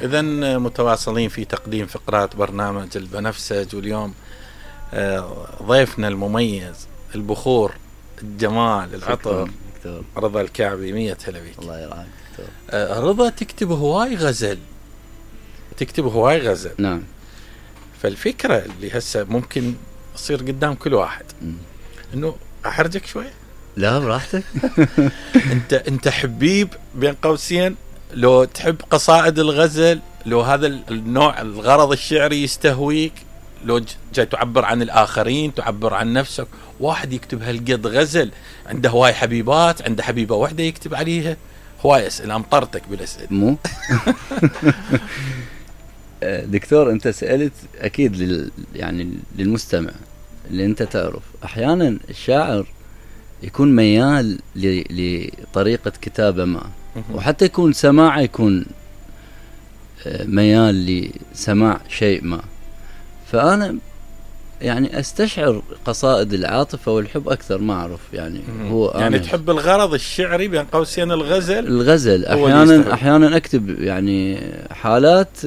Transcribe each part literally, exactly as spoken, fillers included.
إذا متواصلين في تقديم فقرات برنامج البنفسج، واليوم ضيفنا المميز البخور الجمال العطر رضا الكعبي. مية هلا بيك. الله يرعاك دكتور. رضا تكتب هواي غزل، تكتب هواي غزل. نعم. فالفكرة اللي هسه ممكن تصير قدام كل واحد م. انه احرجك شوي. لا براحتك. انت انت حبيب بين قوسين، لو تحب قصائد الغزل، لو هذا النوع الغرض الشعري يستهويك، لو جاي تعبر عن الآخرين، تعبر عن نفسك، واحد يكتب هالقد غزل عنده هواي حبيبات، عنده حبيبة واحدة يكتب عليها هواي أسئلة. أمطرتك بالأسئلة مو دكتور أنت سألت أكيد لل يعني للمستمع اللي أنت تعرف أحيانا الشاعر يكون ميال لطريقة كتابة ما، وحتى يكون سماعه يكون ميال لسماع شيء ما. فأنا يعني أستشعر قصائد العاطفة والحب أكثر، ما أعرف يعني هو يعني تحب الغرض الشعري بين قوسين الغزل. الغزل أحيانا أحيانا أكتب يعني حالات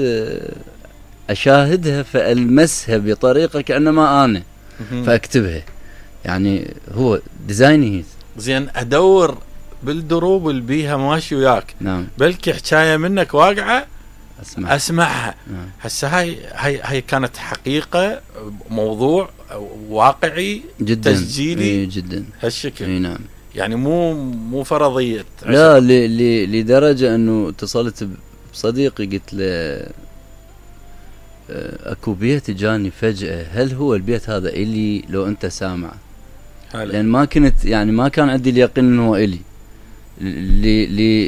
أشاهدها فألمسها بطريقة كأنما أنا فأكتبها، يعني هو ديزايني. زين أدور بالدروب اللي بيها ماشي وياك. نعم. بلكي حكاية منك واقعة أسمع. أسمعها. نعم. هسه هاي هاي هاي كانت حقيقة، موضوع واقعي جدا، تسجيلي جدا هالشكل. اي نعم. يعني مو مو فرضية. لا ل ل لدرجة انه اتصلت بصديقي قلت له اكو بيت جاني فجأة، هل هو البيت هذا إلي لو انت سامع؟ لان ما كنت يعني ما كان عندي اليقين انه هو إلي،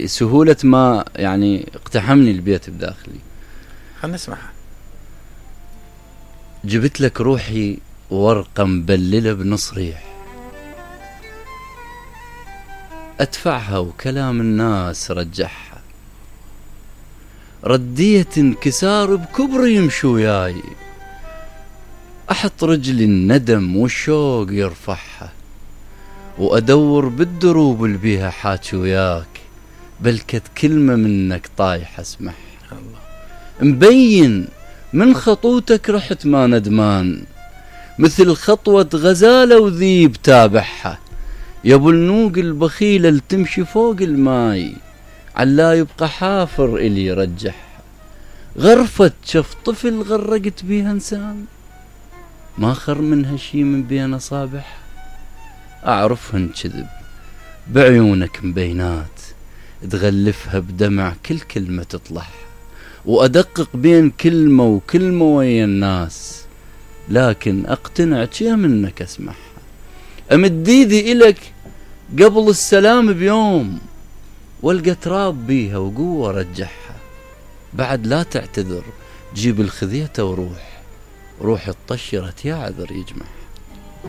لسهولة ما يعني اقتحمني البيت بداخلي. خلنا نسمعها. جبت لك روحي ورقة مبللة بنص ريح، أدفعها وكلام الناس رجعها، ردية انكسار بكبر يمشي وياي، أحط رجلي الندم والشوق يرفعها، وأدور بالدروب اللي بيها حاكي وياك، بلكت كلمة منك طايحة اسمعها. الله. مبين من خطوتك رحت ما ندمان، مثل خطوة غزالة وذيب تابعها، يا ابو النوق البخيلة اللي تمشي فوق الماي، علا يبقى حافر إلي رجعها، غرفة شف طفل غرقت بيها انسان، ما خر منها شي من بين أصابعها، أعرفهن كذب بعيونك مبينات، تغلفها بدمع كل كلمة تطلعها، وأدقق بين كلمة وكلمة ويا الناس، لكن أقتنع شي منك أسمعها، أمد ايدي إلك قبل السلام بيوم، والقى تراب بيها وقوة رجعها، بعد لا تعتذر جيب الخذيته وروح، روح الطشرت يا عذر يجمعها.